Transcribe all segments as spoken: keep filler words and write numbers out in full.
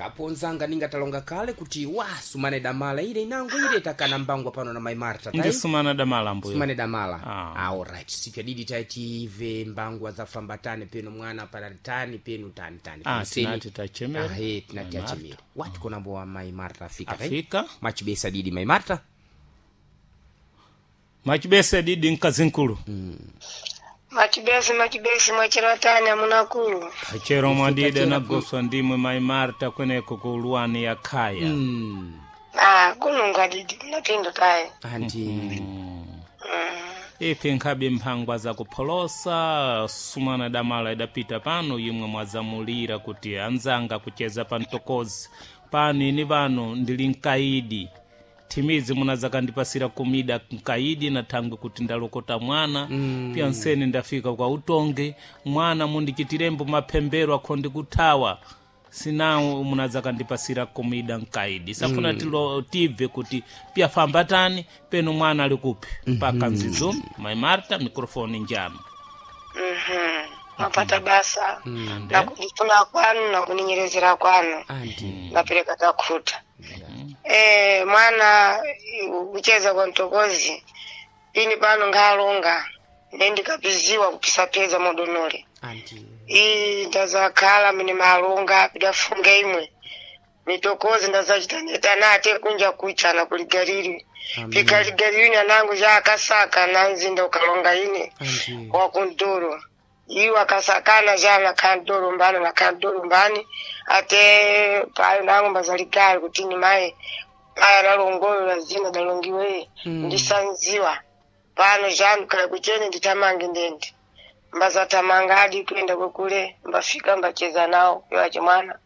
Kapo nzanga ningatalonga kale kuti wa sumane damala ile inango ile takana mbangwa pano na mai Marta tai Ndi sumana damala mbuyo. Sumane damala. Ah. Ah, alright sipya didi taitive mbangwa za fambatane peno mwana pararitani penu tani tani. Ah, Peno seni. tinati tachemera. Ah, eh, tinati Mai achemera. Wati konambo wa mai Marta afika tai? Afika. Machibesa didi mai Marta. Machibese didi nkazinkulu. Machibesi machibesi mwachiratani amunakulu. Achero mwadide nagoswa ndimwe mai Marta kweneko ku luwani ya khaya. Mm. Ah, kununga didi napindo tayi. Anti. Ife nkhabe mphangwa zakupholosa sumana damala idapita pano imwe mwazamulira kuti anzanga kucheza pa mtokozi pano ini pano ndili mkaidi thimizi munazakandipasira kumida mkaidi na thangwe kuti ndalokota mwana mm. pyanseni ndafika kwa utonge mwana mundichitirembo maphembero akho ndikuthawa sinawo munazakandipasira kumida mkaidi safuna mm. tilo tibve kuti pyafamba tani peno mwana ali kupi mpaka nzizo mai Marta mikrofoni njano Mhm. Mapata basa. Ande. Na kundifuna kwanu na kuninyerezera kwanu. Anti. Napereka takhuta. Eh, mwana kucheza kwa mtokozi. Ini pano ngalonga. Ndendikapiziwa kupisapeza modonole. Anti. Iyi ndazakhala mine malonga pidafunga imwe. Mitokozi ndazachitaneta nate kunja kuchana kuligariri. Amen. Pikaligariri nanangu jakasaka nanzinda ukalonga ine. Anti. Wakundoro. Iwo akasakana jana kandoro mbani na kandoro mbani ate payo nangu mbazaligari kuti ni mai paya nalongoyo lazina dalongiwe Mm. ndisanziwa pano janu kala kuchene nditamange ndende mbazatamanga adi kuenda kwekule mbafika mbacheza nawo iwache mwana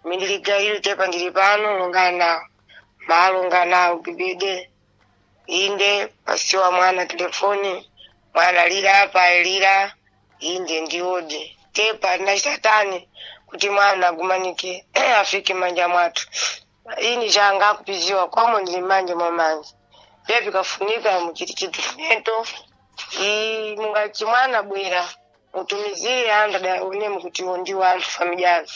mindiligaili tepa ndili pano longana nawo malonga nawo bibide inde pasiwa mwana telefoni mwana lila apa lila inde ndiode tepa nachitatani kuti mwana agumanike afike manja mwathu ini changa akupiziwa kwamo ndili manje mwa manje pepi kafunika muchiti chidokumento i mungachi mwana bwera mutumizire anthu adaonemo kuti iwo ndiwo anthu famijano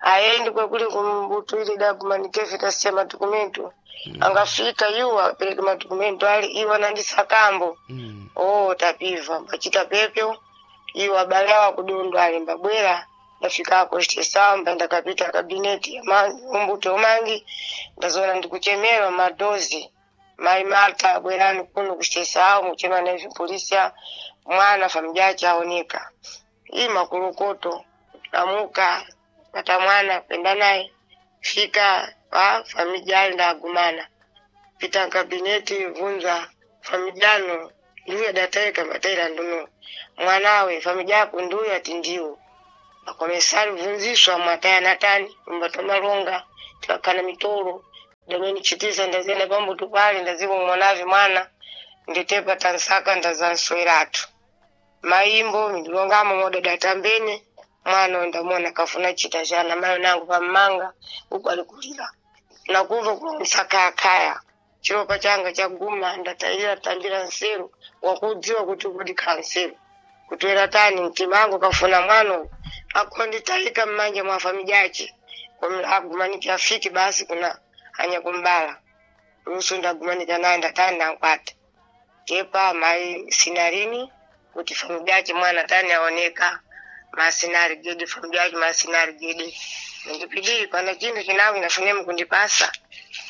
ayendi kwekuli kumbutu ili dagumanikefe tasiya madokumento angafika iwo apereke madokumento ali iwo anandisakambo Mm. oh tapiva mbachita pepyo iwo abale awo akudondo ali mbabwera ndafikako chitesamba ndakapita kabineti umbuto umangi ndazoona ndikuchemerwa madozi mai Marta bwerani kuno kuchitesawo muchema naivi polisia mwana famijache aoneka iyi makulukoto amuka pata mwana penda naye fika pa famijali ndagumana pita kabineti vunza famijano nduya dataika mataira nduno mwanawe famijako nduya ati ndiwo akomesari vunziswa mwataya natani mbatwa tikakana mitolo dameni chitisa ndazenda pambuto pale ndaziko mwanavi mwana nditepa tansaka ndazansweratu maimbo mindilongamo modada tambene mwana ndamona kafuna chita chana mayo nangu pammanga uku alikulira nakuva kulongisakayakaya chiropa changa chaguma ndataira tambira nseru wakudziwa kuti kudikhala nseru kutwera tani mtima angu kafuna mwana uyu akonditayika mmanja mwa famijache agumanike afike basi kuna anya kumbala lusu ndagumanika naye ndatani nankwata tepa mai sinarini kuti famijache mwana tani aoneka masinari gede famijache masinari gede ndipidii pana chintu chinangu inafunemu kundipasa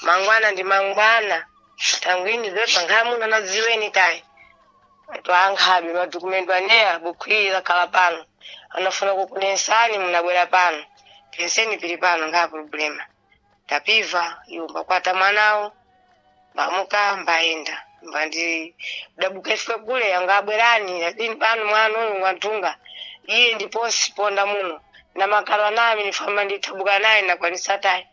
mangwana ndi mangwana tangwini pepa nkhamuna nadziweni tayi twankhabe madokumento aneya bukhwiri lakhala pano anafuna kukunensani munabwera pano penseni pili pano nkha problema tapiva iwo mbakwata mwanawo mbamuka mbayenda mbandi dabuka ifike kule yanga abwerani lakini pano mwana uyu mwantunga iye ndiposi ponda muno na makalo anami nifamba ndithabuka naye nakwanisa tayi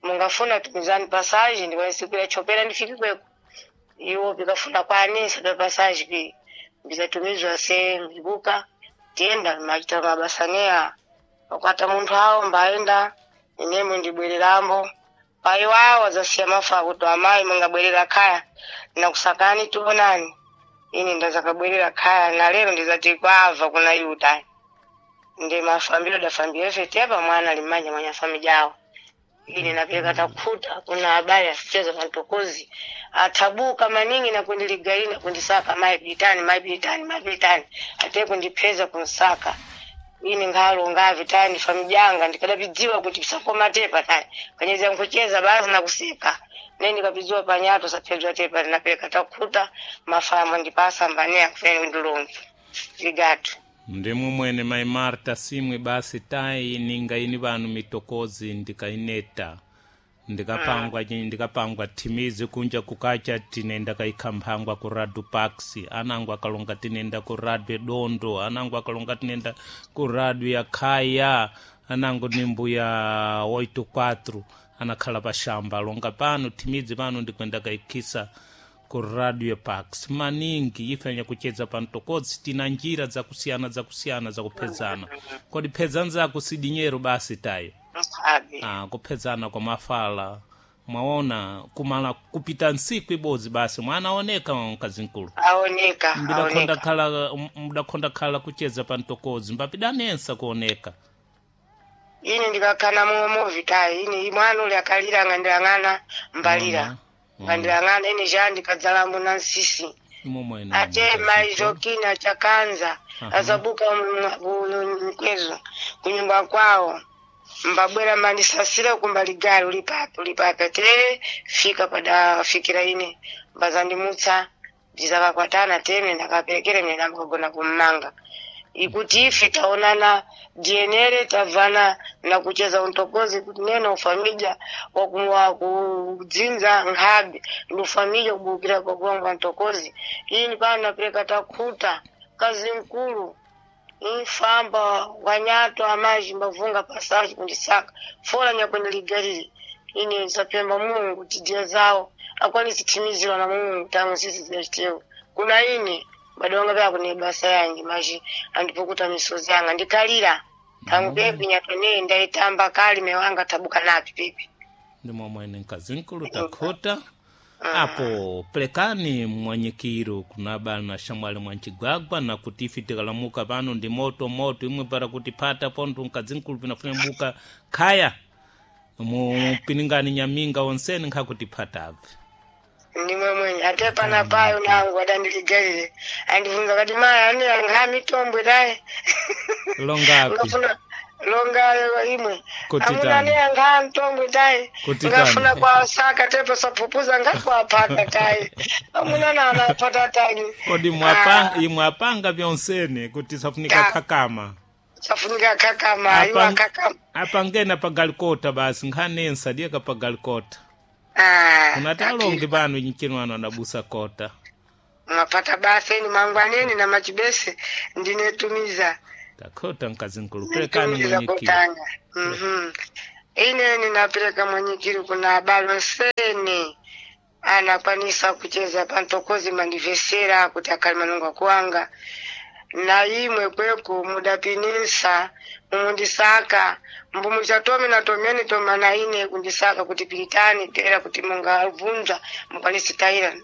mungafuna tumizani pasaji ndikwanise kuya chopera ndifike kweko iwo pikafuna kwanisa pa pasaji pi mbizatumizwa se mbibuka tiyenda machita mabasa pakwata munthu awo mbayenda inemwe ndibwererambo payi wawo zasiya mafa kuti amayi mungabwerera khaya nakusakani tionani ine ndazakabwerera khaya na lero ndizati kwava kuna yuta ndi mafambiro dafambiro ife tepa mwana ali mmanja mwanya fami jawo. Ine napeleka takhuta kuna habari asicheza pantokozi athabuka maningi nakundiligaina kundisaka mai pitani mai pitani mai pitani ate kundipeza kunsaka ine ngalo ngavi tani famijanga ndikadapidziwa kuti pisakoma tepa tani kanyeza nkucheza basi nakuseka ne ndikapidziwa panyato saphedzwa tepa ndinapeleka takhuta mafamo ndipasa mbanea kufeni kundilongi ligatu Ndimwe mwene mai Marta simwe basi tayi ninga ini vanu mitokozi ndikaineta ndikapangwa mm. ndikapangwa thimizi kunja kukacha tinenda kaikhamphangwa ku radio pax anango akalonga tinenda ku radio dondo anango akalonga tinenda ku radio ya khaya anango ni mbuya oito quatro anakhala pa shamba longa pano thimidzi pano ndikwenda kaikhisa ku radio pax maningi ifenya kucheza pantokodzi tina njira zakusiyana zakusiyana zakuphedzana kodi phedzana zako sidinyero basi tayo Msabe. ah, kuphedzana kwa mafala mwaona kumala kupita ntsiku ibodzi basi mwana aoneka mkazinkulu Aoneka, mbudakhonda aoneka. khala mbudakhonda khala kucheza pantokodzi mbapidanensa kuoneka Ine ndikakhala momwe movitayi ine mwana uli akalira ngandilang'ana mbalira. Mwana, Ngandilang'ana ine ja ndikadzalambo na nsisi. imomwene Ate mai Jokina chakanza Aha. azabuka mkwezo kunyumba kwawo mbabwera mandisasira kumbaligali uli papi uli papi ate fika pada fikira ine mbazandimutsa ndizakakwatana teme ndakaperekere mene ndamukagona kummanga ikuti ife taonana dienere tabvana na kucheza untokozi kuti neno ufamija wakumwa kudzinza nkhabe ndi ufamija kubukira kwakuwangwa ntokozi ini pano napereka takhuta kazi mkulu infamba wanyato amaji mbavunga pasaji kundisaka fola nyakwendeligalile ine zapemba Mulungu tidia zawo akwanisi timizirwa na Mulungu tamu sisi zidachitewo kuna ine badonga pya kune basa yange maji andipukuta misozi yanga ndikalira tangu pepi nyatone ndaitamba kali mewanga tabuka napi pepi ndimomwene mkazinkulu takhuta apo pelekani mwanyikiro kuna bana shamwali mwancigwagwa na kuti ife tikalamuka pano ndi moto moto imwe para kuti phata ponto mkazinkulu pinafuna buka khaya mupiningani nyaminga onseni nkhakuti phatabve ndimwe mwenye ate pana payo nangu adandiligalile andivunza kati maya ani anga mitombwe taye longapi ngafuna longayo imwe Kuti amuna tani? ne anga mtombwe taye Kuti ngafuna tani? kwasaka tepo sapupuza ngakwapaka taye amuna na anapata tani kodi mwapanga imwe apanga vyonsene kuti safunika Ah. khakama safunika kakama iwo Apa- akakama apangena pagalikota basi nkhanensa diyeka pagalikota Ah, kunati alongi pano nchino ano adabusa kota mwapata basa eni mangwaneni na machibese ndinetumiza takhota mkazinkulu pelekani Nitumiza mwenyekiro kutanga mhm ine ninapeleka mwenyekiro kuna abalo nsene anakwanisa kucheza pantokozi mandivesera kuti akhali manungo akuwanga na imwe kweko mudapinisa mumundisaka mbumuchatome na tomene toma na ine kundisaka kuti piritani tera kuti mungabvunza mukwanise tayira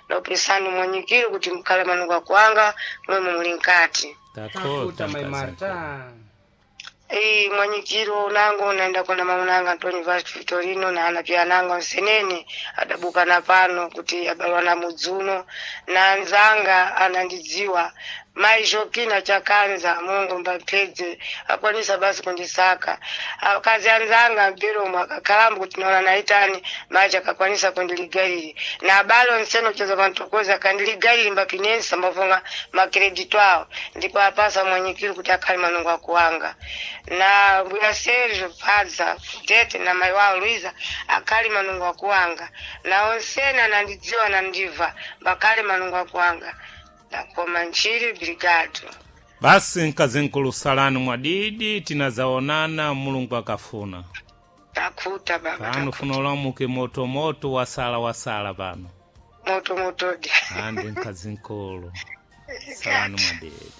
naupesani mwenyekiro kuti mukhale manungo akuwanga mwemwe muli mkati takhota Takuta mai mkazinkulu Marta. Ei, mwanyikiro nango naenda kuna mamunanga Antoni Vaz Vitorino na ana pia nango nsenene adabuka na pano kuti abalwa na mudzuno na anzanga anandidziwa mai Jokina chakanza Mungu mbapedze akwanisa basi kundisaka akazi anzanga mpiromo akakhalambo kuti naona naitani maji akakwanisa kundiligaliri na abalo nseno cheza pantokozi akandiligaliri mbapinensa mbavonga makredito awo ndipo apasa mwanyikiro kuti akhale manungo akuwanga na mbuya Sergio Padza Tete na mai wawo Luiza akhali manungo akuwanga na onsene anandidziwa nandiva mbakhale manungo akuwanga ndakoma ntchiri brigado basi mkazinkulu salani mwadidi tinazaonana mulungu akafuna takhuta baba pano takhuta. funa ulamuke motomoto wasala wasala pano moto motodi andi mkazinkulu salani mwadidi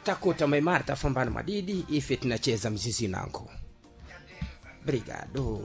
Takuta mai Marta fambano madidi ife tinacheza mzizi nango. Brigado.